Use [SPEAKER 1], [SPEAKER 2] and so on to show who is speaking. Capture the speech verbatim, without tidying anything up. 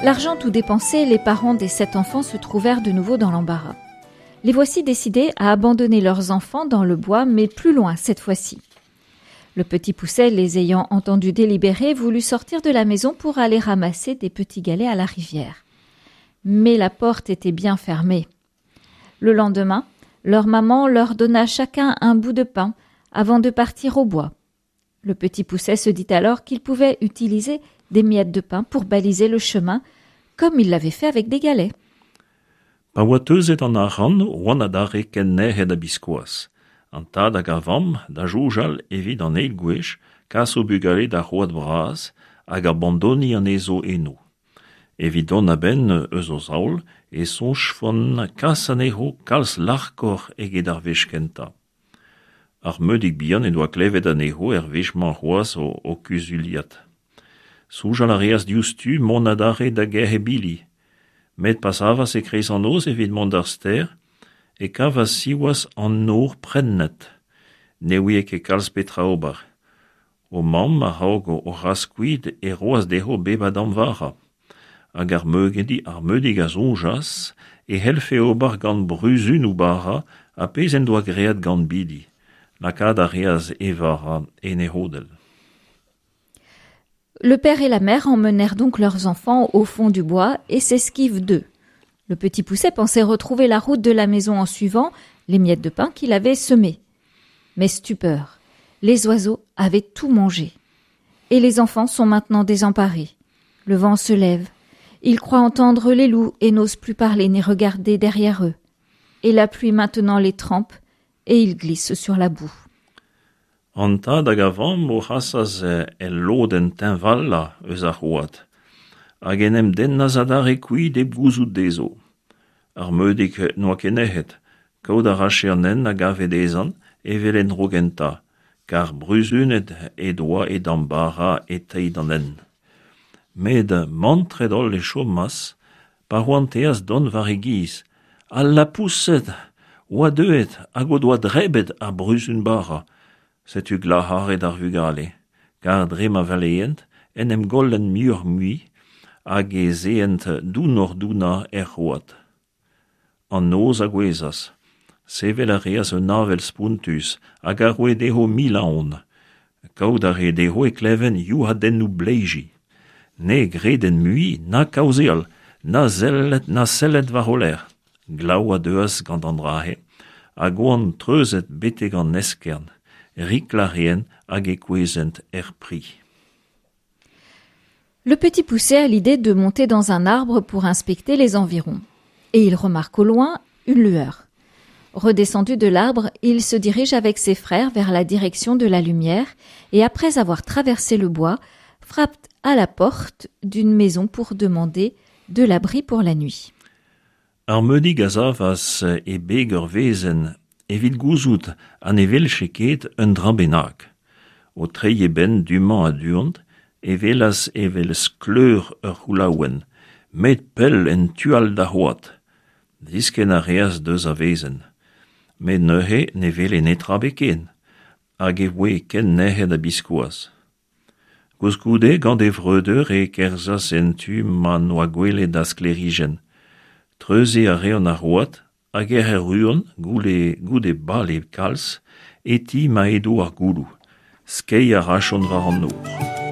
[SPEAKER 1] L'argent tout dépensé, les parents des sept enfants se trouvèrent de nouveau dans l'embarras. Les voici décidés à abandonner leurs enfants dans le bois, mais plus loin cette fois-ci. Le petit Poucet, les ayant entendus délibérer, voulut sortir de la maison pour aller ramasser des petits galets à la rivière. Mais la porte était bien fermée. Le lendemain, leur maman leur donna chacun un bout de pain avant de partir au bois. Le petit Poucet se dit alors qu'il pouvait utiliser des miettes de pain pour baliser le chemin, comme il l'avait fait avec des galets.
[SPEAKER 2] Pa oa teuzet an arc'hant oant adarre ken nec'het ha biskoazh. An tad hag ar vamm da soñjal evit an eil gwech kas o bugale d'ar c'hoad bras hag abandoniñ anezho eno. Evit dont a-benn eus o zaol e soñjfont kas anezho kalz larkoc'h eget ar wech kentañ. Ar Meudig bihan en doa klevet anezho er wech-mañ c'hoazh o, o kuzuliat. Soñjal a reas diouzhtu mont adarre da gerc'hat bili. Met pa savas e-kreiz an noz evit mont d'ar stêr, e kavas siwazh an nor prennet. Ne ouie ket kalz petra ober. O mamm a-raok o c'has kuit e roas dezho bep a damm vara. Hag ar meugedi, ar Meudig a soñjas e c'hellfe ober gant bruzunoù bara ar pezh en doa graet gant bili. Lakaat a reas e vara en e c'hodell.
[SPEAKER 1] Le père et la mère emmenèrent donc leurs enfants au fond du bois et s'esquivent d'eux. Le petit Poucet pensait retrouver la route de la maison en suivant les miettes de pain qu'il avait semées. Mais stupeur, les oiseaux avaient tout mangé. Et les enfants sont maintenant désemparés. Le vent se lève. Ils croient entendre les loups et n'osent plus parler ni regarder derrière eux. Et la pluie maintenant les trempe et ils glissent sur la boue.
[SPEAKER 2] An tad hag ar vamm o c'hasas el lodenn teñvalañ eus ar c'hoad, hag en em dennas adarre kuit hep gouzout dezho. Ar Meudig n'oa ket nec'het, kaout a rafe an hent a gave dezhañ evel en dro gentañ, kar bruzunet he doa e damm bara e-treid an hent. Met mantret-holl e chomas pa c'hoanteas dont war e giz. Al lapoused oa deuet hag o doa drebet ar bruzun bara. Setu glac'haret ar vugale, kar dre ma valeent en em gollent muioc'h-mui hag ez eent dounoc'h-dounañ er c'hoad. An noz a gouezhas. Sevel a reas un avel spontus hag a roe dezho mil aon. Kaout a rae dezho e klevent youc'hadennoù bleiji. Ne gredent mui na kaozeal, na sellet na sellet war o lerc'h. Glav a deuas gant an dra-se, hag oant treuzet betek an eskern. Riklañ a reent hag e kouezhent er pri.
[SPEAKER 1] Le petit Poucet a l'idée de monter dans un arbre pour inspecter les environs. Et il remarque au loin une lueur. Redescendu de l'arbre, il se dirige avec ses frères vers la direction de la lumière et après avoir traversé le bois, frappe à la porte d'une maison pour demander de l'abri pour la nuit.
[SPEAKER 2] Ar Meudig a savas e beg ur wezenn evit gouzout ha ne welche ket un dra bennak. O treiñ e benn du-mañ ha du-hont e welas evel skleur ur c'houlaouenn, met pell en tu all d'ar c'hoad. Diskenn a reas deus ar wezenn. Met neuze ne wele netra ebet ken, hag e voe ken nec'het ha biskoazh. Koulskoude gant e vreudeur e kerzhas en tu ma n'oa gwelet ar sklêrijenn. Treuziñ a reont ar c'hoad hag ec'h erruont goude, goude bale kalz e ti ma edo ar gouloù. Skeiñ a rajont war an nor.